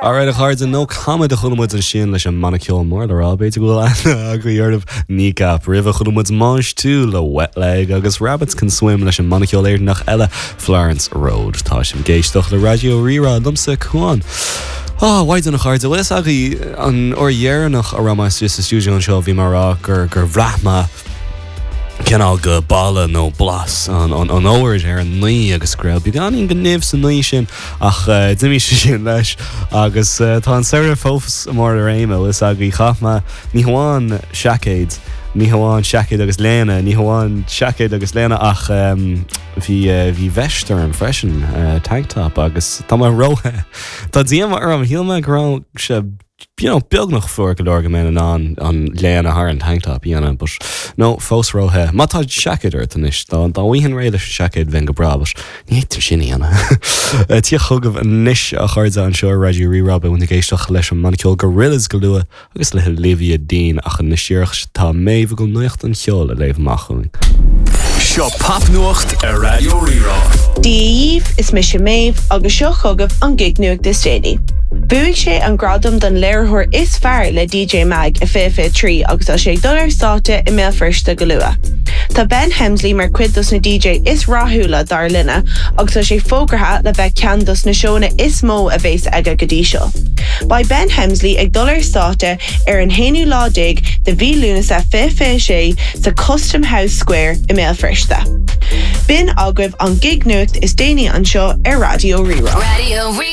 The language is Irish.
Alright a chairde, No Comment a chuala muid ansin leis an mbanna ceoil mór le rá, b'fhéidir go bhfuil aithne agaibh orthu, Kneecap. Roimhe chuala muid Mange Tout le Wet Leg agus Rabbits Can Swim leis an mbanna ceoil Éireannach eile, Florence Road. Tá sibh ag éisteacht le Raidió Rí-Rá liomsa, Cuán. Á, mhaighdean a chairde, bhfuil fhios agaibh an uair dheireanach a raibh mé istigh sa stiúideo anseo bhí mé ag rá gur gur bhraith mé cineál go boladh nó blas an fhómhair ar an ngaoth agus go raibh beagáinín go nimh sa ngaoth sin ach d'imigh sé sin leis agus tá an samhradh fós i mbarr a réime bhfuil fhios agaibh chaith mé ní hamháin seaicéid ní hamháin seaicéid agus léine ní hamháin seaicéid agus léine ach bhí bhí veist orm freisin tank top agus tá mé ró-the tá díoma orm shíl mé go raibh sé you know, beagnach fuar go leor go mbeinn in ann an léine thar an tank top a dhéanamh, but no, fós ró-the. Má tá seaicéad ort anois, dá dá bhfaighinn réidh leis an seaicéad bheinn go breá, but ní fhéadfainn sin a dhéanamh. Tíocht chugaibh anois a chairde anseo ar Raidió Rí-Rá, beidh muid ag éisteacht leis an mbanna ceoil Gorillaz go luath agus le hOlivia Dean ach anois díreach tá Méabh ag dul nuacht an cheoil a léamh amach dhúinn. Seo Popnuacht ar Raidió Rí-Rá. Dia dhaoibh, is mise Méabh agus seo chugaibh an gig-nuacht is déanaí. Bhuaigh sé an gradam don léiritheoir is fearr le DJ Mag i 2023 agus tá sé ag dul ar stáitse i mBéal Feirste go luath. Tá Ben Hemsley mar chuid dos na DJ is rathúla dár linne agus tá sé fógartha le bheith ceann dos na seónna is mó a bhéas aige go dtí seo. Beidh Ben Hemsley ag dul ar stáitse ar an haonú lá déag de mhí Lúnasa 2026 sa Custom House Square i mBéal Feirste. B'in agaibh an gig-nuacht is déanaí anseo ar Raidió Rí-Rá.